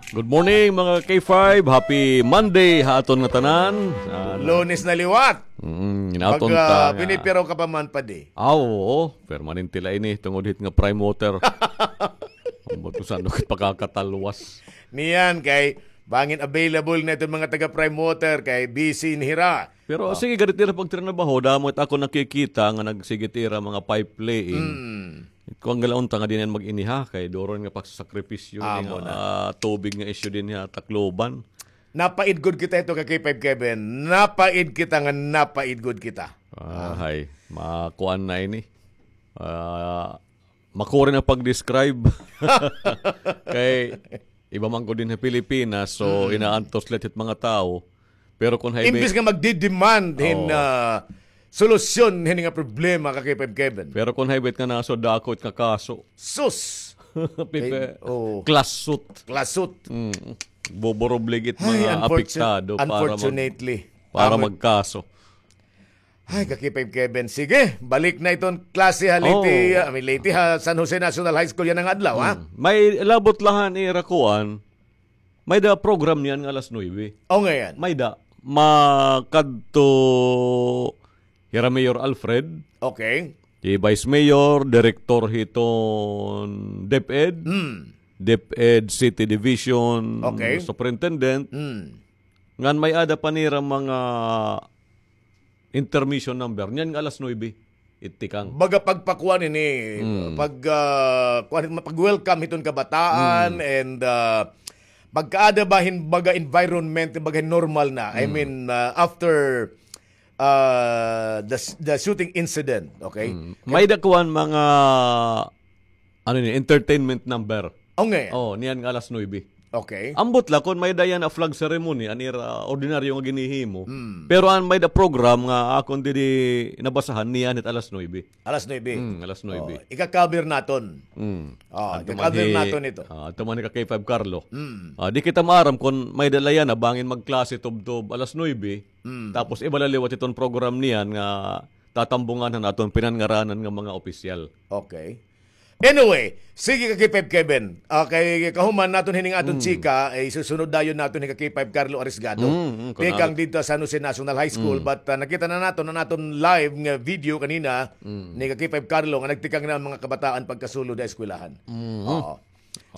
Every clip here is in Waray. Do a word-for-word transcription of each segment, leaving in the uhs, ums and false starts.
Good morning, mga K five. Happy Monday ha aton nga tanan. Ah, Lunes na liwat. Mm, in aton Pag, ah, ta nga pinipiraw ka pa man, padi. Ah, oo. Permanente la ini, tungod hit nga Prime Water. Ambot ko san-o kit pakakatalwas. Niyan kay bangin available na iton mga taga Prime Water kay busy in hira. Pero sige, gad it ira pagtrinabaho, damo it ako nakikita nga nagsige it ira mga pipe laying. Mm. Kuan gad la unta nga diri na mag-iniha kay duro nga pagsasakripisyo ini nga, ah, tubig nga isyu dinhi ha Tacloban. Napaid gud kita hito ka K five Kevin. Napaid kita nga napaid gud kita. Ah, hay. Makuan na ini. Ah, makuri na pag-describe. Kay iba man ko dinhi ha Pilipinas, so inaantos la hit mga tawo. Pero kon hay Imbis nga magdi-demand hin, ah, solusyon hini nga problema ka K five Kevin. Pero kon hay bit nga naso, dako it nga kaso. Sus! Pipe, Kay, oo. Klasot. Klasot. Mm. Boboroblig it Ay, mga unfortun-, apektado para mag-, unfortunately. Para Amo- magkaso. Ay, ka K five Kevin. Sige, balik na iton klase ha Leyte, Oh. ah, I mean, Leyte ha, San Jose National High School yana nga adlaw, ha? Mm. May labot la han ira kuan. May da program niyan nga alas nuebe. O, ngayan. May da. Makadto hira Mayor Alfred. Okay. Hi Vice Mayor, Direktor hiton DepEd. Mm. DepEd City Division Okay. Superintendent. Mm. Ngan may-ada pa nira mga intermission number. Niyan nga alas nuebe, it tikang. Baga pagpakuan ini, Mm. pag, ah, kuan, pag-welcome hiton kabataan Mm. and, ah, pagkaada ba hin baga environment, baga hin normal na. I Mm. mean, ah, after, ah, the s-, the shooting incident, okay? Mm. May da kuan mga, ano ni, entertainment number. O, ngayan. Oh, niyan nga alas nuebe. Okay. Ambot la kon may da yana flag ceremony, an ira ordinaryo nga ginhihimo. Mm. Pero an may da program nga akon didi nabasahan, niyan hit alas nuebe. Alas nuebe. Mm, alas nuebe. Oh, ika-cover naton. Mm. Oh, Adto man ika-cover hi-, naton ito. Ah, adto man hi ka K five Carlo. Mm. Ah, di kita maaram kon may da la yana bangin magklase tubtob alas nuebe. Mm. Tapos iba la liwat iton program niyan nga tatambungan han aton pinanngaranan nga mga opisyal. Okay. Anyway, sige ka K five Kevin. Ah, kay kahuman naton hining aton Mm. chika, eh, isusunod dayon naton hi ka K five Carlo Arisgado. Mm, mm, Tikang kunal. didto sa San Jose National High School, Mm. but, ah, nakita na naton an aton live nga video kanina Mm. ni ka K five Carlo nga nagtikang na an mga kabataan pagkasulod ha eskwelahan. Mm. Oo.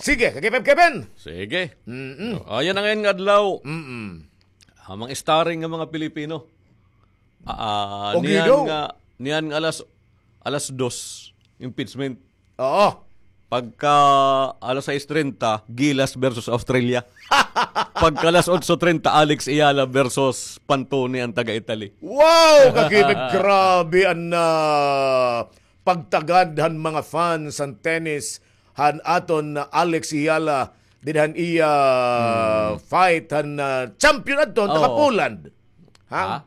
Sige, ka K five Kevin. Sige. Mm-mm. Ah, ayan na ngayon nga adlaw. Mm-mm. Ang mga starring nga mga Pilipino. Ah, ah, O, niyan Guido. nga, niyan nga alas, alas dos, impeachment. Oo. Pagka alas sais treinta, Gilas versus Australia. Pagka alas otso treinta, Alex Eala versus Pantone, an taga Italy. Wow, kakipit, grabe an, ah, pagtagad han mga fans han tennis han aton Alex Eala, dida han iya Hmm. fight han, ah, champion adto, han taga Oo. Poland. Ha? Ha?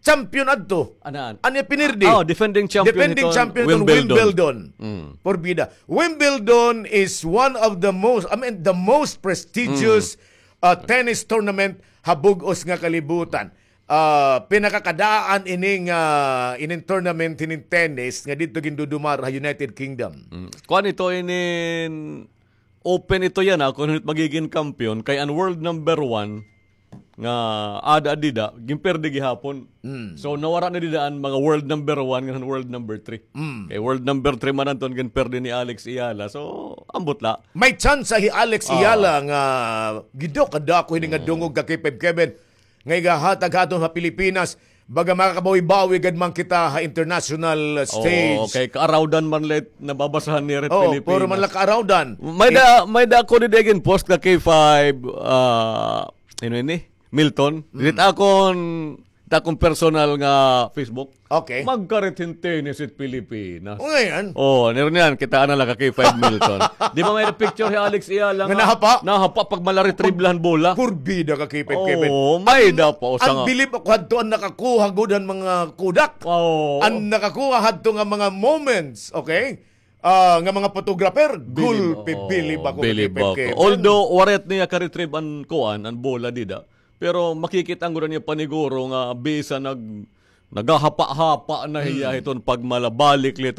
Champion adto. Anan? An iya pinirdi. Oh, defending champion Defending hiton champion hiton Wimbledon. Wimbledon. Mm. Porbida. Wimbledon is one of the most, I mean, the most prestigious, Mm. uh, tennis tournament ha bug-os nga kalibutan. Ah, pinakakadaan ining, ah, ining tournament hining tennis nga didto gindudumar ha United Kingdom. Mm. Kuan ito, inin open ito yana, ah, kon hin-o it magigin kampiyon, kay an world number one nga ada dida, ginperde gihapon. Mm. So, nawara na dida an mga world number one ngan world number three. Mm. Kay world number three man adto an ginperde ni Alex Eala. So, ambot la. May tsansa hi Alex Ah. Eala nga gidto kadako hini nga Ah. dungog ka K five Kevin nga igahatag ha aton ha Pilipinas. Baga makakabawi-bawi gad man kita ha international stage. Oo, kay kaarawdan man la it nababasahan nira hit Oo, Pilipinas. puro man la kaarawdan. May da, may da ako didi ginpost ka K five, ah, ano ini? Milton. Mm. Didi it akon, it akon personal nga Facebook. Okay. Magkarit hin tennis it Pilipinas. O, ngayan. Oh, niro niyan, kitaa na la ka K five Milton. Di ba may picture hi Alex Eala Nga nga nahapa? nahapa pag mala-retrieve la han bola? Porbida ka K five Kevin. Oh, may da pa usa An nga bilib ako hadto an nakakuha gud han mga kodak. Oh. An nakakuha hadto nga mga moments, okay? Ah, nga mga photographer, Bilib, gulpi, oo, bilib ako ka bilib K five ako. Kevin. Although, waray niya ka-retrieve an kuan, an bola dida. Pero makikit-an gud an iya paniguro nga bisan nag-, naghahapa-hapa na hiya Mm. hiton pagmala, balik la ito